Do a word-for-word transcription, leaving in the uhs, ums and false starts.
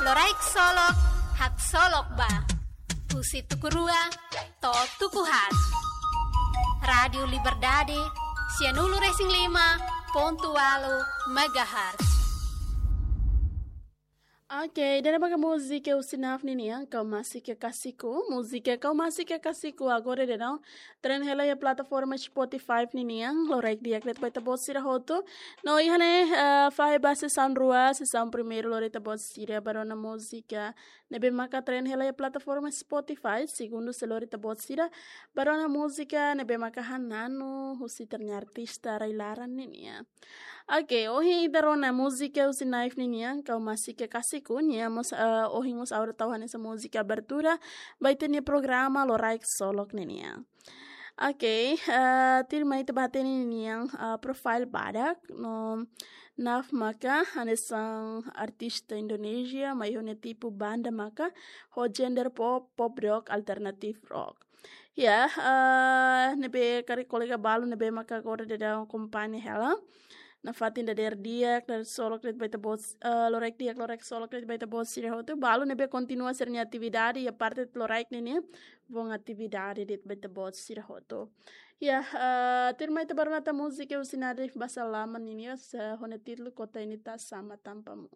Loraik Solok, haksolok ba. Husi tuku rua to'o tuku haat. Rádiu Liberdade, sianulu-resin-lima pontu ualu megahertz. Oke, ida-ne'e maka múzika husi NAF ninian, Kau Masih Kekasihku. Múzika Kau Masih Kekasihku agora daudaun trend hela iha plataforma Spotify ninian, loraik di'ak de'it ba ita-boot sira hotu. No iha ne'e, eh, fahe ba sesaun rua, sesaun primeiru lori ita-boot sira ba rona múzika ne'ebé maka trend hela iha plataforma Spotify, segundu sei lori ita-boot sira ba rona múzika ne'ebé maka hananu husi ita-nia artista rai-laran ninian. Oke, ohin ita rona múzika husi NAF ninian, Kau Masih Kekasihku, nia mós, eh, ohin mós ha'u tau hanesan múzika abertura ba ita-nia programa Loraik Solok ninian. Oke, eh, tuirmai ita bá hatene ninia, eh, profile badak, no NAF maka hanesan artista Indonézia, mai ho nia tipu banda maka ho genre pop, pop rock, alternative rock. Ya, eh, ne'ebé karik kolega balu ne'ebé maka agora daudaun akompaña hela nafatin dadeer di'ak, dadeer solok de'it ba ita-boot, eh, loraik di'ak, loraik solok de'it ba ita-boot sira hotu. Balu ne'ebé kontinua sira-nia atividade iha parte loraik ninian, bom atividade de'it ba ita-boot sira hotu. Ya, eh, tuirmai ita bá rona tan múzika husi Nadif Basalaman ninian, eh, ho nia títulu Kota Ini Tak Sama Tanpamu.